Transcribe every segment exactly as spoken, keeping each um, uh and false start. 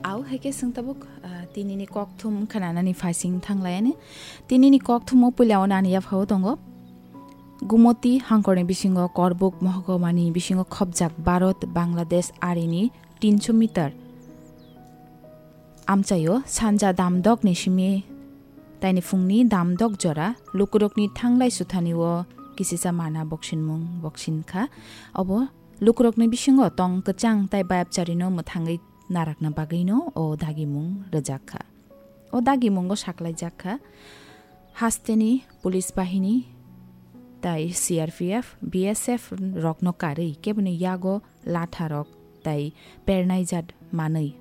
Au hai khe chwng tabuk, ah, tinini kokthum khnanani phaising thanglayani. Tinini kokthumo puila o nani yaphao tongo. Gumoti hangkorni bisingo Korbuk mohogomani bisingo khopjak Bharat, Bangladesh arini tinso meter amchaio sanja damdokni simi taini phungni damdok jora lukurokni thanglai suthanio kisisa mana boksinmung boksin kha. Obo lukurokni bisingo tong kwchang tai bayapcharino mwthangwi narakna bagwino o dagimung rwjak kha. O dagimungo saklaijak kha, hasteni police bahini tai C R P F, B S F rokno karwi keboni yago latharok tai pernaijat manwi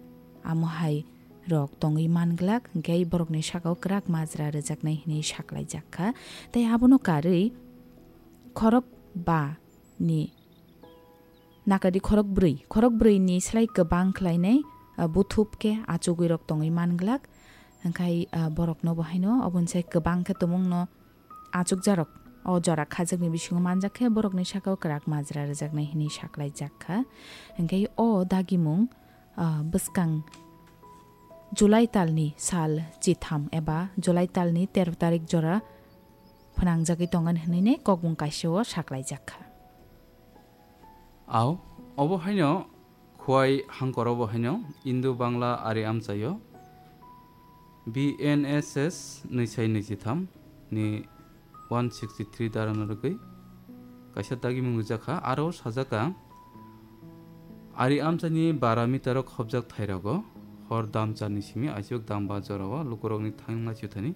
amo hai rok tongwi manglak, hwnkhe borokni sakao kwrak majra rwjaknai hwnwi saklaijak kha. Tai abono karwi khorok ba ni nakadi khorok bwrwi, khorok bwrwi ni slai kwbang khlainai, ah, buthup khe achugwi rok tongwi manglak. Hwnkhe, ah, borokno bo haino oboni sai kwbang khe tumungno achukjarok o jora khajakni bisingo manjak khe borokni sakao kwrak majra rwjaknai hwnwi saklaijak kha. Hwnkhe o dagimung, ah, bwskang July talni sal chitham eba July talni tero tarik jora phnangjagwi tongan hwnwi ne kokbung kaisa o saklaijak kha. Au, obo haino Khwai hangkor obo haino Indo Bangla ari amchaio B N S S nwi sai nwi chitham ni one sixty three dara no rwgwi kaisa dagimung rijak kha. Aro sajak kha, ari amchaini bara meter o khopjak thairogo hor damcharni simi aisuk damba jorao lukurokni thangnai chuthani